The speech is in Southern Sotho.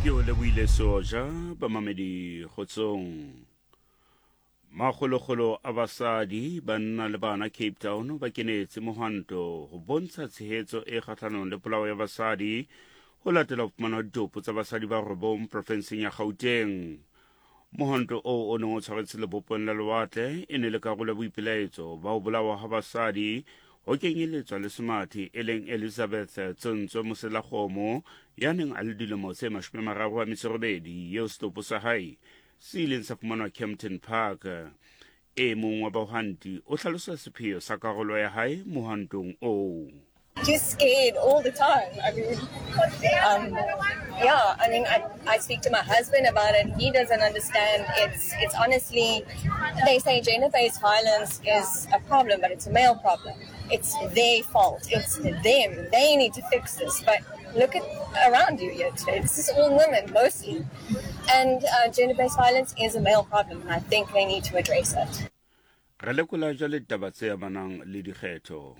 Ke o lebohile Seoja, bamamedi kgotsong. Makgolokgolo a basadi, banna le bana Cape Town ba kenetse mohwanto ho bontsha tshehetso e kgahlanong le polao ya basadi ho latela ho fumanwa ditopo tsa basadi ba robong profenseng ya Gauteng. Mohwanto oo o neng o tshwaretse lebopong la lewatle e ne le karolo ya boipelaetso ba ho bolawa ha basadi ho kenyeletswa le semathi e leng Elizabeth Tsontswe Moselakgomo ya neng a le dilemo tse 38 eo setopo sa hae se ileng sa fumanwa Kempton Park. E mong wa bahwanti o hlalosa sepheo sa karolo ya hae mohwantong oo. Just scared all the time. I mean, um, yeah, I mean, I, I speak to my husband about it. He doesn't understand. It's, it's honestly, they say gender-based violence is a problem, but it's a male problem. It's their fault. It's them. They need to fix this. But look at around you here today. This is all women mostly. And uh, gender-based violence is a male problem, and I think they need to address it. Re lekola jwale ditaba tse amanang le dikgetho.